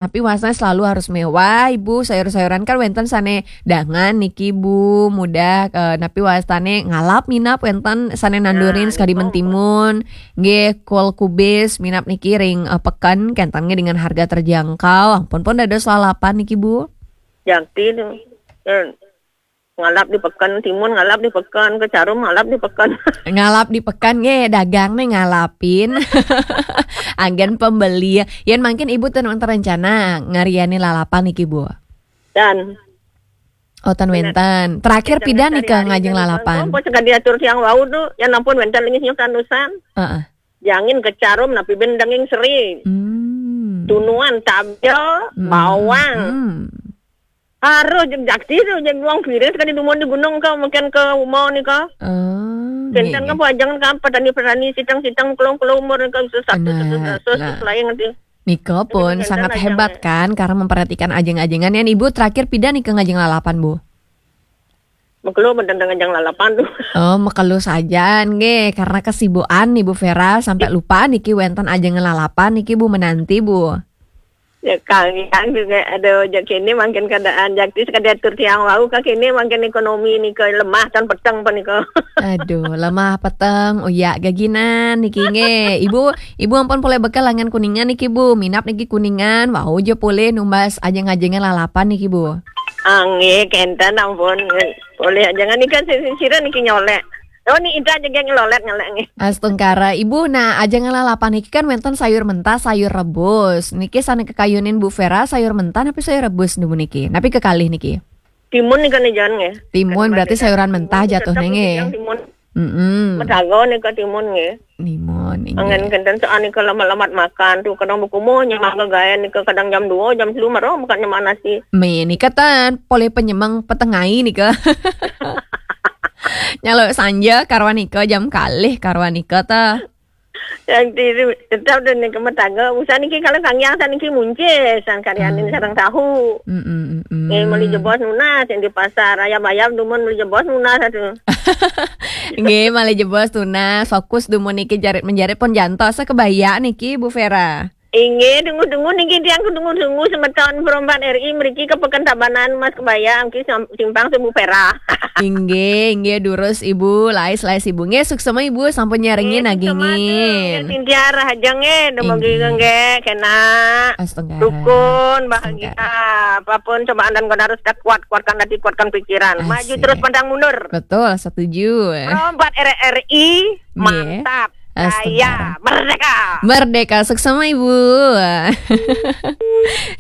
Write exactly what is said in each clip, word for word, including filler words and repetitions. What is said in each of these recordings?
Tapi wastane selalu harus mewah, Ibu. Sayur-sayuran kan wenten sane dangan niki, Bu. Mudah, eh, napi wastane ngalap minap wenten sane nandurin. Nah, sakadi niku, mentimun. Nggih, kol kubis minap niki ring, eh, peken, kenten nggih dengan harga terjangkau. Ampun pun dados lalapan niki, Bu. Jakti tu. Eh, ngalap di peken, timun ngalap di peken, kecarum ngalap di peken. Ngalap di peken nggih, dagang nih ngalapin. Anggen pembeli. Yen mangkin Ibu ten wenten rencana ngariani lalapan niki, Bu? Dan. Oh, ten wenten. Terakhir pidan nika ngajeng lalapan? Oh, pas kadi atur tiang wau tu, ya ampun wenten lingis nyuk tanusan. Heeh. Jangin, kecarum, napi ben daging seri. Hmm. Tunuan, tabil, hmm, bawang. Hmm. Aruh, jeg jakti tu, jeg wong pirit kadi dumun di gunung ka, mungkin ke uma nika. Oh, kenten nggih, ka nggih. Pajangan ka petani-petani sitang-sitang kelong-kelong umur nika susah, susah, susah, susah, susah, lain ngerti. Nika pun sangat hebat kan, karena memperhatikan ajeng-ajengan. Yang Ibu terakhir pidan nika ngajeng lalapan, Bu? Mekelo menten ngajeng lalapan tu. Oh, mekelo saja nggih, karena kesibukan Ibu Vera sampai lupa niki wenten ajeng lalapan niki, Bu, menanti, Bu. Ya, kalian juga ada ojek kini mangkin keadaan jakti sekadar atur tiang wau ka kini mangkin ekonomi nika lemah tan peteng pa nika. Aduh, lemah peteng, uyak gaginan niki nggih. Ibu, Ibu ampun polih bekel angen Kuningan niki, Bu. Minap niki Kuningan, wau ja polih numbas ajeng-ajengan lalapan niki, Bu. Ah, nggih, kenten ampun. Polih ajengan nika si-, si-, sira niki nyolek. Oh, ni inta ajengan ngelolet ngelek nggih. Astungkara, Ibu, nah, ajengan lalapan niki kan wenten sayur mentah, sayur rebus. Niki sane kekayunin Bu Vera, sayur mentah napi sayur rebus niku niki? Napi kekalih niki? Timun nika ni jan nggih. Timun, berarti sayuran mentah jatuhnya nggih. Timun. Mm-mm. Metaga nika timun nggih. Timun, nggih. Angen kenten soal nika lamat-lamat makan tu, kadang bekumuh nyemang gaya nika kadang jam dua, jam telu maro makan nyemang nasi. Me nika ten, polih penyemang petengai nika. Nyaluk sanja karuan nika jam kalih karuan nika ta. Yang diri tetap dan nika metaga. Usah niki kalau kangyang san niki muncis, san karyanin sareng tahu. Mm-mm, mm-mm. Eh, meli jebos nunas yang di pasar, ayam-ayam dumun meli jebos nunas atuh. Nggih, malih jebos tunas, fokus dumun niki jarit-menjarit pun jantos kebaya niki, Bu Vera. Inggih, dungu-dungu niki tiang ku dungu-dungu semeton Perompat R I mriki ke Peken Tabanan Mas Kebaya angki sam-, simpang Sebu Vera. Inggih, inggih durus Ibu, lais-lais Ibu. Nggih, suksema Ibu sampun nyarengin nggih, nggih, agingin. Sintia rahaja nggih, dumugi nggih kena. Astungkara. Rukun, bahagia. Astungkara. Apapun cobaan dan godaan harus kuat, kuatkan hati, kuatkan pikiran. Maju terus, pantang mundur. Betul, setuju. Perompat R R I, nggih. Mantap. Astungkara. Jaya. Merdeka. Merdeka, suksema Ibu.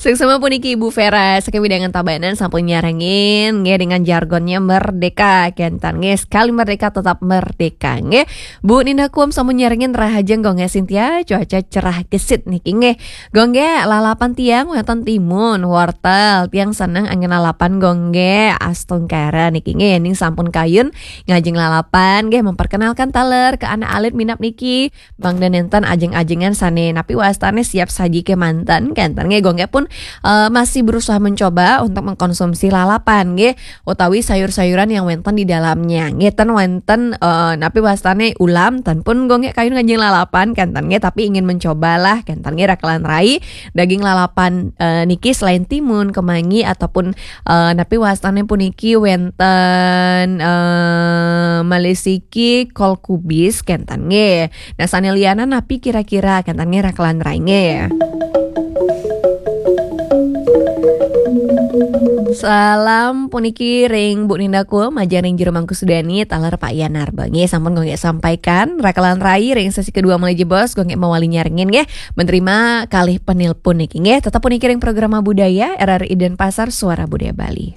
Suksema puniki Ibu Vera, saking wewidangan Tabanan sampun nyarengin, nggih, dengan jargonnya merdeka, kenten, nggih, sekali merdeka tetap merdeka, nggih. Bu Ninda Kuom sampun nyarengin rahaja nggih Sintia, cuaca cerah gesit niki, nggih. Nggih, lalapan tiang wonten timun, wortel, tiang seneng angin lalapan nggih, astungkara niki, nggih, ning sampun kayun ngajeng lalapan, nggih, memperkenalkan taler ke anak alit minap niki, mangda nenten ajeng-ajengan sane napi wastane siap saji kemanten, kenten nggih, nggih pun, eh, masih berusaha mencoba untuk mengkonsumsi lalapan, nggih, utawi sayur-sayuran yang wenten di dalamnya, nggih, ten wenten, eh, napi wastane ulam, ten pun nggih kayun ngajeng lalapan, kenten nggih, tapi ingin mencobalah, kenten nggih, rakelan rai, daging lalapan, eh, niki selain timun, kemangi, ataupun, eh, napi wastane puniki wenten, eh, malih siki kol kubis, kenten nggih. Nah, sane lianan napi kira-kira, kenten nggih, rakelan rai nggih. Salam puniki ring Bu Ninda Kuom, majeng ring Jero Mangku Sudani, taler Pak Yan Narba. Nggih, sampun nggih sampaikan, rakelan rai ring sesi kedua malih jebos, nggih mawali nyarengin nggih. Menerima kalih penelpon niki nggih. Tetap puniki ring Programa Budaya, R R I Denpasar, Suara Budaya Bali.